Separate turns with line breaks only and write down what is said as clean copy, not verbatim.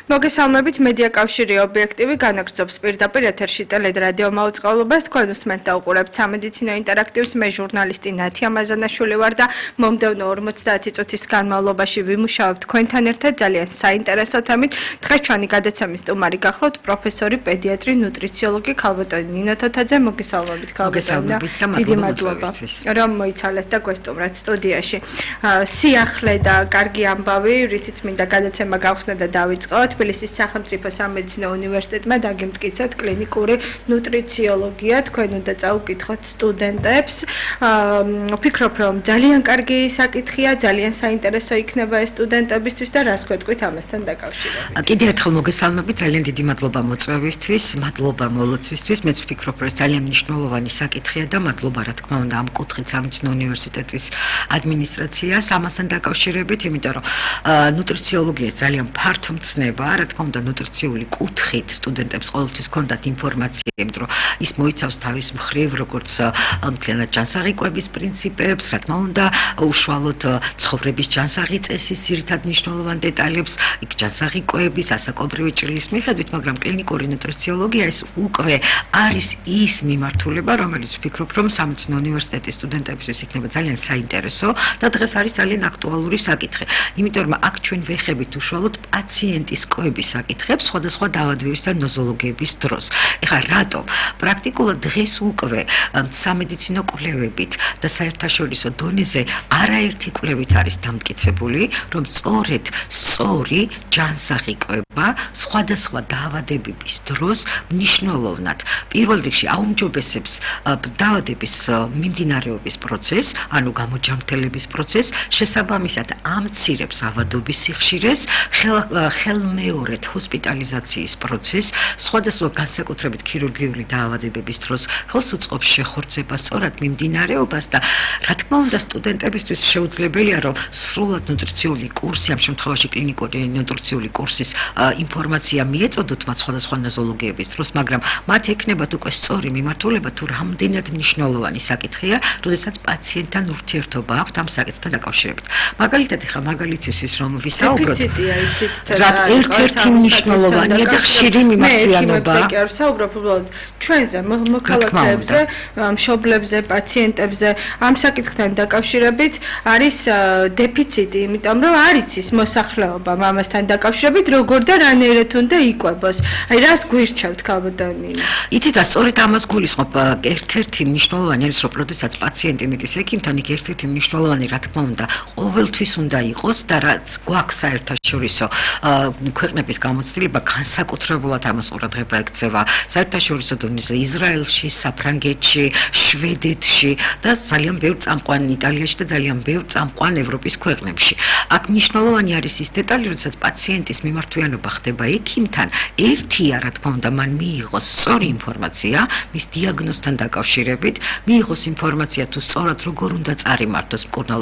მოგესალმებით მედია კავშირი ობიექტივი განაგრძობს პირდაპირ ეთერში ტელერადიო მაუწყებლობას თქვენ უსმენთ და უყურებთ სამედიცინო ინტერაქტივს მე ჟურნალისტი ნათი ამაზანაშვილი ვარ და მომდევნო 50 წუთის განმავლობაში ვიმუშავებ თქვენთან ერთად ძალიან საინტერესო თემით დღეს ჩვენი გადაცემის სტუმარი გახლავთ პროფესორი პედიატრი ნუტრიციოლოგი ქალბატონი ნინო თოთაძე მოგესალმებით ქალბატონი დიდი მადლობა რომ მოიცალეთ და გვესტუმრეთ სტუდიაში სიახლე და კარგი ამბავი რითიც მინდა გადაცემა გავხსნა და დავიწყოთ თბილისის სახელმწიფო სამედიცინო უნივერსიტეტმა დაგემტკიცეთ კლინიკური ნუტრიციოლოგია თქვენ უნდა წაუკითხოთ სტუდენტებს ვფიქრობ რომ ძალიან კარგი საკითხია ძალიან საინტერესო იქნება ეს სტუდენტებისთვის და რას გვეტყვით ამასთან დაკავშირებით
კიდევ ერთხელ მოგესალმებით ძალიან დიდი მადლობა მოწვევისთვის მადლობა მოლოცვისთვის მეც ვფიქრობ რომ ეს ძალიან მნიშვნელოვანი საკითხია და მადლობა რა თქმა უნდა ამ კუთხით სამედიცინო უნივერსიტეტის ადმინისტრაციას ამასთან დაკავშირებით იმიტომ რომ ნუტრიციოლოგია ძალიან ფართო მცნება რა თქმა უნდა ნუტრიციული კუთხით სტუდენტებს ყოველთვის ჰქონდათ ინფორმაცია იმიტომ რომ ის მოიცავს თავის მხრივ როგორც მთლიანად ჯანსაღი პრინციპებს რა თქმა უნდა უშუალოდ ცხოვრების ჯანსაღი წესის ძირითად მნიშვნელოვან დეტალებს იქ ჯანსაღი კვების ასაკობრივი ჭრილის მიხედვით მაგრამ კლინიკური ნუტრიციოლოგია ეს უკვე არის ის მიმართულება რომელიც ვფიქრობ რომ სამედიცინო უნივერსიტეტის სტუდენტებისთვის იქნება ძალიან საინტერესო და დღეს არის ძალიან აქტუალური საკითხი იმიტომ რომ აქ ჩვენ ვეხებით უშუალოდ პაციენტის კვების საკითხებს სხვადასხვა დაავადებების და ნოზოლოგიების დროს. ეხლა რატო? პრაქტიკულად დღეს უკვე სამედიცინო კვლევებით და საერთაშორისო დონეზე არაერთი კვლევით არის დამტკიცებული, რომ სწორედ სწორი ჯანსაღი კვება სხვადასხვა დაავადებების დროს მნიშვნელოვნად პირველ რიგში აუმჯობესებს დაავადების მიმდინარეობის პროცესს, ანუ გამოჯანმრთელების პროცესს, შესაბამისად ამცირებს ავადობის სიხშირეს, ხელმეორედ ჰოსპიტალიზაციის პროცესს, სხვადასხვა განსაკუთრებით ქირურგიული დაავადებების დროს ხელს უწყობს შეხორცებას, სწორად მიმდინარეობას და რა თქმა უნდა სტუდენტებისთვის შეუძლებელია რომ სრულად ნუტრიციული კურსი, ამ შემთხვევაში კლინიკური ნუტრიციული კურსის ინფორმაცია მიეწოდოთ მათ სხვადასხვა ნოზოლოგიების დროს, მაგრამ მათ ექნებათ უკვე სწორი მიმართულება თუ რამდენად მნიშვნელოვანი საკითხია, როდესაც პაციენტთან ურთიერთობა აქვთ ამ საკითხთან დაკავშირებით. მაგალითად ეხლა მაგალითისთვის რომ ვისაუბროთ ერთ-ერთი მნიშვნელოვანია და ხშირი მიმართულება.
მე არ საუბრობ უბრალოდ ჩვენზე, მოქალაქეებზე, მშობლებზე, პაციენტებზე, ამ საკითხთან დაკავშირებით არის დეფიციტი, იმიტომ რომ არ იცის მოსახლეობა ამასთან დაკავშირებით, როგორ და რანაირად უნდა იკვებოს. აი რას გვირჩევთ ქალბატონი?
იცით, სწორედ ამას გულისხმობ ერთ-ერთი მნიშვნელოვანი არის, რომ როდესაც პაციენტი მიდის ექიმთან, იქ ერთ-ერთი მნიშვნელოვანი რა თქმა უნდა ყოველთვის უნდა იყოს და რაც გვაქვს საერთაშორისო ქვეყნების გამოცდილება განსაკუთრებულად ამას ყურადღება ექცევა საერთაშორისო დონეზე ისრაელში, საფრანგეთში, შვედეთში და ძალიან ბევრ წამყვან იტალიაში და ძალიან ბევრ წამყვან ევროპის ქვეყნებში. აქ მნიშვნელოვანი არის ის დეტალი, როდესაც პაციენტის მიმართვიანობა ხდება ექიმთან, ერთია რა თქმა უნდა მან მიიღოს სწორი ინფორმაცია მის დიაგნოზთან დაკავშირებით, მიიღოს ინფორმაცია თუ სწორად როგორ უნდა წარიმართოს მკურნალო